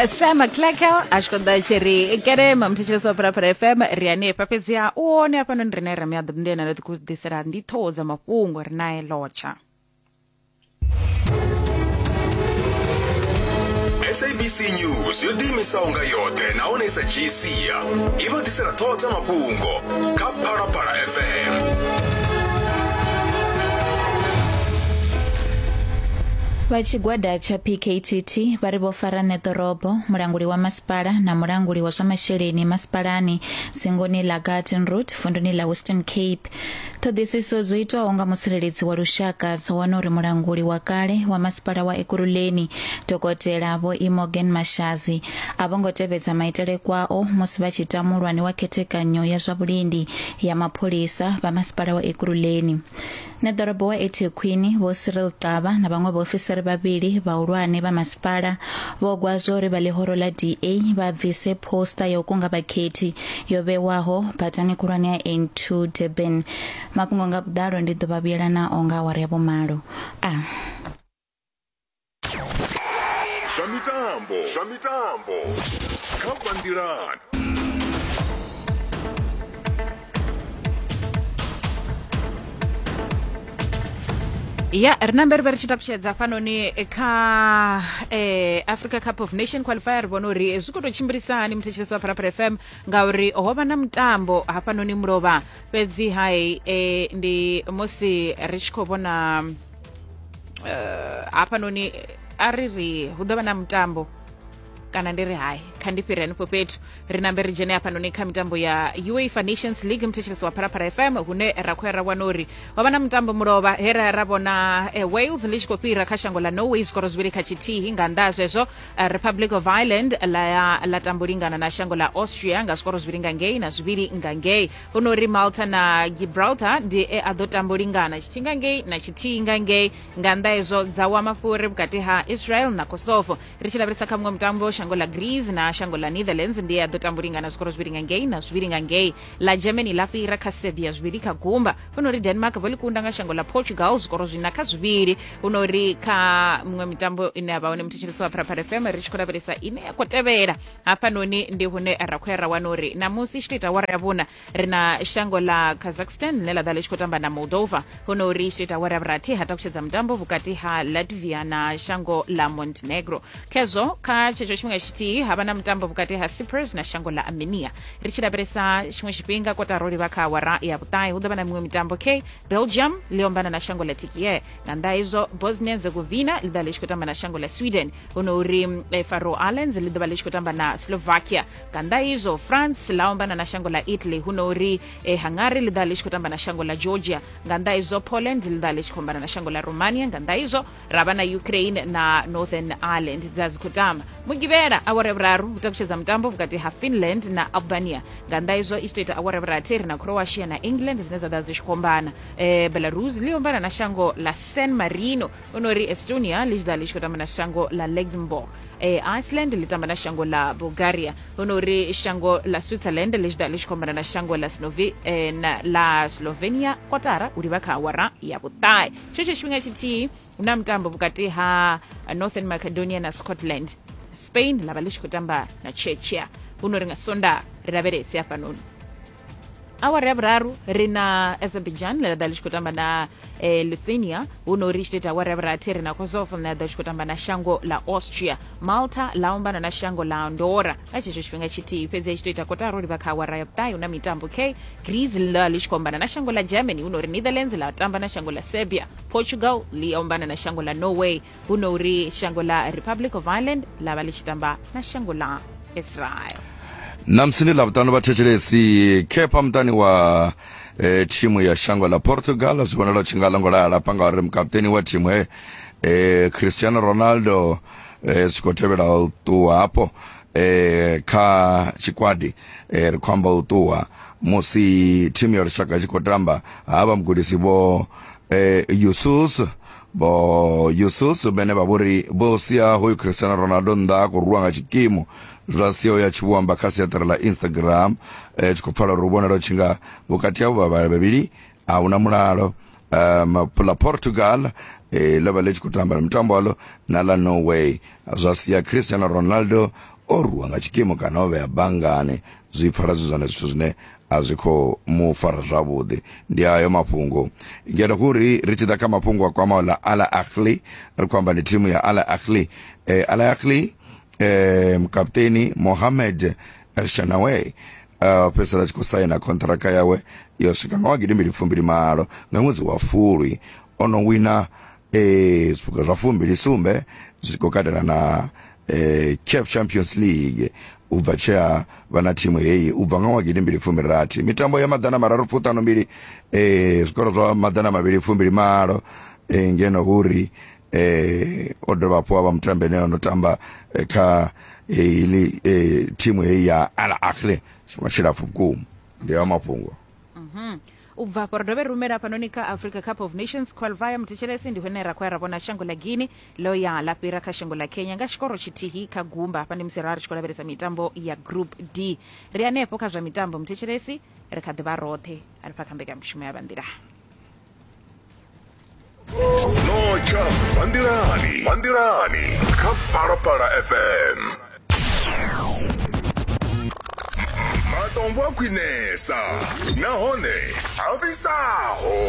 Sam Clarkel a tshi khou ḓa tshi ri kerema muthetshelesi wa Phalaphala FM ri hanefha fhedziha u hone hafhanoni rine ra miaḓo ndi ene a ḓo ḓisela ndi ṱhoho dza mafhungo ri nae lotsha. SABC News yo ḓiimisaho nga yoṱhe nahone i sa dzhii sia i vha ḓisela ṱhoho dza mafhungo kha Phalaphala FM. Vha tshigwada tsha PKTT vha ri vho fara ṋeḓorobo, mulanguli wa masipala na mulanguli wa zwa masheleni masipalani dzingoni ḽa Garden Route vunduni ḽa Western Cape. Ṱhoḓisiso dzo itwaho nga mutsireledzi wa lushaka dzo wana uri mulanguli wa kale wa masipala wa Ekurhuleni Dokotela Vho Imogen Mashazi a vho ngo tevhedza maitele kwao musi vha tshi ita muhulwane wa khethekanyo ya zwa vhulindi ya mapholisa vha masipala wa Ekurhuleni. Ṋeḓorobo wa eThekwini Vho Cyril Xaba na vhaṅwe vhaofisiri vhavhili vhahulwane vha masipala vho gwa zwa uri vha ḽihoro ḽa DA vha bvise poster ya u kunga vhakhethi yo vhewaho badani khulwane ya N2 Durban. Mafhungo nga vhuḓalo ndi ḓo vha vhuyela nao nga awara ya vhumalo. A. Zwa mitambo, zwa mitambo kha Vhanḓilani. Ya ri nambe ri vhe ri tshi takutshedza hafhanoni kha Africa Cup of Nation qualifier ri vhona uri zwi khou tou tshimbilisa hani muthetshelesi wa Phalaphala FM ngauri ho vha na mutambo hafhanoni mulovha fhedzi hai ndi musi ri tshi khou vhona hafhanoni a ri ri hu ḓo vha na mutambo kana ndi ri hai kha ndi fhire hanefho fhethu ri nambe ri dzhene hafhanoni kha mitambo ya UEFA Nations League muthetshelesi wa Phalaphala FM hune ra khou ya ra wana uri ho vha na mutambo mulovha he ra ra vhona Wales ḽi tshi khou fhira kha shango ḽa Norway zwikoro zwivhili kha tshithihi nga nnḓa ha zwezwo Republic of Ireland ḽa ya ḽa tambo lingana na shango ḽa Austria nga zwikoro zwivhili nga ngei na zwivhili nga ngei hu no uri Malta na Gibraltar ndi e a ḓo tambo lingana tshithihi nga ngei na tshithihi nga ngei nga nnḓa hezwo dza wa mafhuri vhukati ha Israel na Kosovo ri tshi lavhelesa kha muṅwe mutambo shango ḽa Greece na shango ḽa Netherlands ndi e a ḓo tambo lingana zwikoro zwivhili nga ngei na zwivhili nga ngei ḽa Germany ḽa fhira kha Serbia zwivhili kha gumba hu no uri Denmark vho ḽi kunda nga shango ḽa Portugal zwikoro zwina kha zwivhili hu no uri kha muṅwe mitambo ine ya vha hone muthetshelesi wa Phalaphala FM ri tshi khou lavhelesa ine ya khou tevhela hafhanoni ndi hune ra khou ya ra wana uri namusi i tshi tou ita awara ya vhuna ri na shango ḽa Kazakhstan ḽine ḽa ḓa ḽi tshi khou tamba na Moldova hu no uri i tshi tou ita awara ya vhurathi ha takutshedza mutambo vhukati ha Latvia na shango ḽa Montenegro khezwo kha tshetsho tshifhinga tshithihi ha vha na mutambo vhukati ha Cyprus na shango ḽa Armenia ri tshi lavhelesa tshiṅwe tshifhinga kotara u livha kha awara ya vhuṱahe hu ḓo vha na miṅwe mitambo k Belgium ḽi ombana na shango ḽa Turkiye nga nnḓa hezwo Bosnia Herzegovina ḽi ḓa ḽi tshi khou tamba na shango ḽa Sweden hu no uri Faroe Islands ḽi ḓo vha ḽi tshi khou tamba na Slovakia nga nnḓa izwo France ḽa ombana na shango ḽa Italy hu no uri Hungary ḽi ḓa ḽi tshi khou tamba na shango ḽa Georgia nga nnḓa izwo Poland ḽi ḓa ḽi tshi khou ombana na shango ḽa Romania nga nnḓa izwo ra vha na Ukraine na Northern Ireland dza dzi khou tamba mugivhela awara ya vhuraru hu takutshedza mutambo vhukati ha Finland na Albania nga nnḓa izwo i tshi tou ita awara ya vhurathi ri na Croatia na England dzine dza ḓa dzi tshi khou ombana Belarus ḽi ombana na shango ḽa San Marino hu no uri Estonia ḽi tshi ḓa ḽi tshi khou tamba na shango ḽa Luxembourg Iceland ḽi tamba na shango ḽa Bulgaria hu no uri shango ḽa Switzerland ḽi tshi ḓa ḽi tshi khou ombana na shango ḽa ḽa Slovenia kotara u livha kha awara ya vhuṱahe tshetsho tshifhinga tshithihi hu na mutambo vhukati ha Northern Macedonia na Scotland Spain ḽa vha ḽi tshi khou tamba na Czechia hu no ri nga Sonda ri lavhelese hafhanoni awara ya vhuraru ri na Azerbaijan ḽe ḽa ḓa ḽi tshi khou tamba na Lithuania hu no ri tshi tou ita awara ya vhurathi ri na Kosovo ḽine ḽa ḓa tshi khou tamba na shango ḽa Austria Malta ḽa ombana na shango ḽa Andorra nga tshetsho tshifhinga tshithihi fhedzi tshi tou ita kotara u livha kha awara ya vhuṱahe hu na mitambo k Greece ḽa ḽi tshi khou ombana na shango ḽa Germany hu no ri Netherlands ḽa tamba na shango ḽa Serbia Portugal ḽi ombana na shango ḽa Norway hu no uri shango ḽa Republic of Ireland ḽa vha ḽi tshi tamba na shango ḽa Israel. Ṋamusi ndi Ḽavhuṱanu vhathetshelesi khepha muṱani wa thimu ya shango ḽa Portugal zwi vhonala tshi nga ḽo lala hafha ngauri mukaputeni wa thimu he Cristiano Ronaldo zwi khou tevhela u ṱuwa hafho kha tshikwadi ri khou amba u ṱuwa musi thimu ya lushaka i tshi khou tamba havha mugudisi vho Yusus vho Yusus vhene vha vhori vho sia hoyu Cristiano Ronaldo nnḓa a khou rwiwa nga tshikimu zwa sia uya tshi vho amba kha siaṱari ḽa Instagram tshi khou pfala uri hu vhonala u tshi nga vhukati havho vha vhavhili a huna mulalo. ḽa Portugal ḽo vha ḽi tshi khou tamba mutambo waḽo na ḽa Norway, zwa sia Cristiano Ronaldo o rwiwa nga tshikimu kana o vhea banngani. Zwi pfala zwi zwone zwithu zwine a zwi khou mu fara zwavhuḓi. Ndi ayo mafhungo ngeno hu ri ri tshi ḓa kha mafhungo a kwamaho ḽa Al Ahly, ri khou amba ndi thimu ya Al Ahly. Al Ahly mukaputeni Mohamed El Shenawy fhedzisela tshi khou saina khonṱhiraka yawe yo swika nga wa 2028 nga ṅwedzi wa Fulwi. O no wina zwiphuga zwa 27 zwi khou katela na CAF Champions League u bva tshe a vha na thimu heyi u bva nga wa 2016. Mitambo ya 352, zwikoro zwa 228, ngeno hu ri o dovha hafhu a vha mutambi ane o no tamba kha heili thimu heyi ya Al Ahly tshifhinga tshilapfu vhukuma. Ndi hayo mafhungo. U bva afho ri dovhe ri rumela hafhanoni kha Africa Cup of Nations qualifier. Muthetshelesi, ndi hune ra khou ya ra vhona shango ḽa Guinea ḽo ya ḽa fhira kha shango ḽa Kenya nga tshikoro tshithihi kha gumba. Hafha ndi musi ra ri tshi khou lavhelesa mitambo ya Group D. Ri hanefho kha zwa mitambo muthetshelesi, ri kha ḓi vha roṱhe hanefha kha mbekanyamushumo ya Vhanḓilani. Notsha Vhanḓilani, Vhanḓilani kha Phalaphala FM. Matombo a khwinesa nahone a fhisaho.